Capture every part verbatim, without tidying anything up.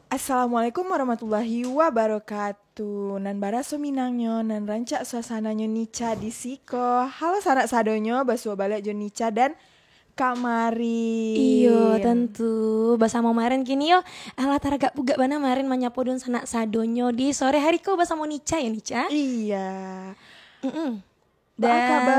Assalamualaikum warahmatullahi wabarakatuh. Nan baraso Minangnyo, nan rancak suasananyo, Nica di siko. Halo sanak sadonyo, basuo baliak jo Nica dan Kak Marin. Iyo, tantu. Basamo Marin kini yo. Alah, taragak pugak bana Marin manyapo dunsanak sadonyo di sore hari ko basamo Nica yo, Nica? Iya. Mm-mm. Baa kaba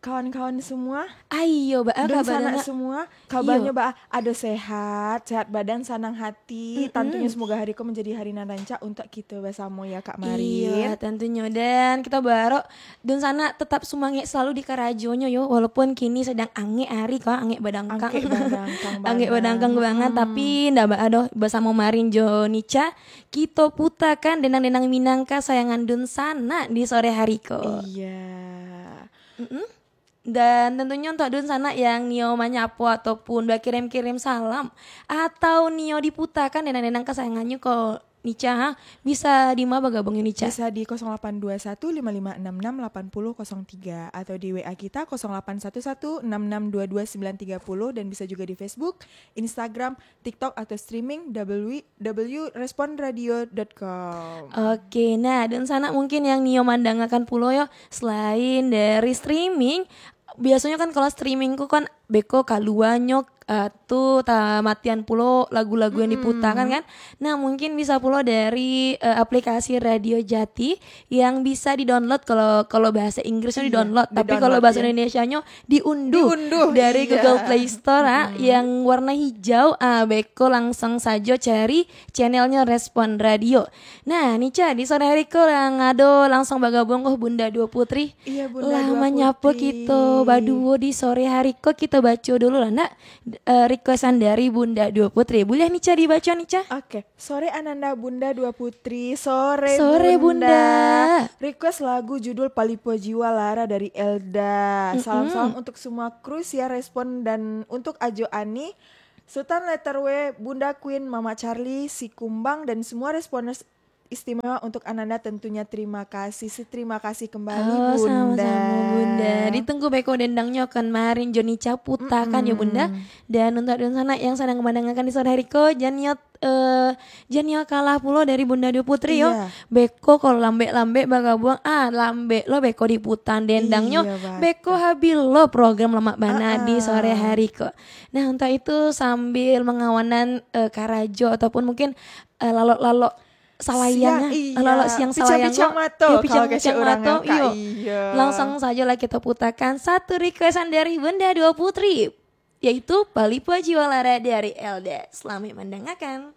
kawan-kawan semua? Aiyo, baa kaba dunsanak semua? Kabanyo baa? Ado sehat, sehat badan, sanang hati. Mm-mm. Tantunyo semoga hari ko menjadi hari nan rancak untuk kito basamo ya, Kak Marin. Iya, tantunyo. Dan kito baharap dunsanak tetap sumangek selalu di karajonyo yo, walaupun kini sedang angek hari ko, angek badangkang. Angek badangkang banget. Angek badangkang banget, tapi ndak baa doh, basamo Marin jo Nica, kito putakan dendang-dendang Minang kasayangan dunsanak di sore hari ko. Iya. Mm-mm. Dan tantunyo untuak dunsanak yang nio manyapo ataupun bakirim-kirim salam, atau nio diputakan dendang-dendang kasayangannyo ko, Nica, ha? Bisa di ma bagabuang, Nica? Bisa di kosong lapan dua satu lima lima enam enam lapan puluh kosong tiga atau di W A kita kosong lapan satu satu enam enam dua dua sembilan tiga puluh, dan bisa juga di Facebook, Instagram, TikTok, atau streaming W W W respon radio dot com. Oke, nah, dunsanak mungkin yang nio mandangakan pulo yo, selain dari streaming, biasonyo kan kalau streaming ko kan beko kaluanyo, eh, tu tamatian pulo lagu-lagu yang diputa kan, kan. Nah, mungkin bisa pulo dari, eh, aplikasi Radio Jati yang bisa di-download kalau, kalau bahasa Inggrisnyo di-download, tapi kalau bahasa Indonesianyo diunduh dari Google Play Store, ah, yang warna hijau, ah, beko langsung sajo cari channelnyo Respon Radio. Nah, Nica, di sore hari ko yang ado langsung bagabuang ko Bunda Duo Putri. Iya, Bunda Duo Putri. Lah manyapo kito baduo di sore hari ko, kito baco dulu lah, nak, eh, requestan dari Bunda Duo Putri. Buliah, Nica, dibaco, Nica? Oke. Sore Ananda, Bunda Duo Putri. Sore, Bunda. Request lagu judul Palipo Jiwa Lara dari Elda. Salam-salam untuk semua kru Siar Respon dan untuk Ajo Ani, Sultan Letter W, Bunda Queen, Mama Charlie, Si Kumbang, dan semua responders istimewa untuk Ananda tentunya. Terima kasih, seterima kasih kembali, Bunda. Oh, sama-sama, Bunda. Ditunggu beko dendangnyo kan Marin jo Nica putakan yo, Bunda. Dan untuk dunsanak yang sadang mandangakan di sore hari ko, jan yo, eh, jan yo kalah pulo dari Bunda Duo Putri yo. Iya. Beko kalau lambek-lambek bagabuang, ah, lambek lo beko diputan dendangnyo. Iya, batul. Beko habis lo program lamak bana di sore hari ko. Nah, untuk itu sambil mangawanan, eh, karajo ataupun mungkin, eh, lalok-lalok salayang, siang, ah, iya, lalok siang salayang pichang-pichang mato, iyo, pichang-pichang mato, iyo. Langsung sajo lah kito putakan satu requestan dari Bunda Duo Putri, yaitu Palipo Jiwa Lara dari Elda. Selamat mandangakan.